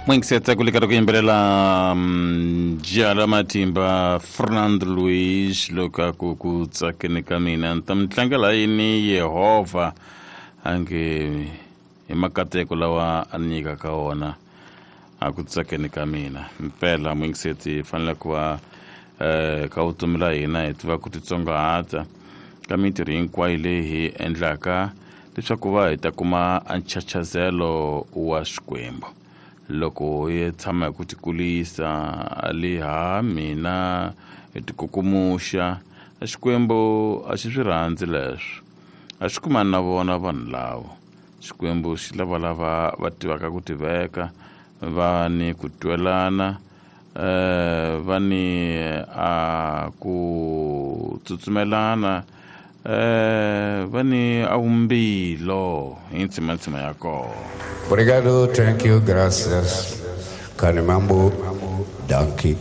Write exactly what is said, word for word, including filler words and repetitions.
N'wingisetsa ku le karhi ku yimbelela jala matimba Fernando Luis loko a ku ku tsakeni ka mina ni ta mi tlangela yini Yehovha a nge hi makateko lawa a ni nyikaka wona a ku tsakeni ka mina. Mpela n'wingisetsi hi fanele ku va um ka vutomi la hina hi tiva ku titsongahata ka mintirho hinkwayo leyi hi endlaka leswaku va hi ta kuma nchachazelo wa Xikwembu. Loko hi tshama hi ku tikulisa ali ha mina hi tikukumuxa, Xikwembu a xi swi rhandzi leswo, a xi kumani na vona vanhu lavo. Xikwembu xi lava lava va tivaka ku tiveka, va ni ku twelana, eh va ni a ku tsutsumelana, eh va ni awumbilo hi ntsimantsima ya kona. Obrigado, thank you, gracias. Kanimambo, dankie.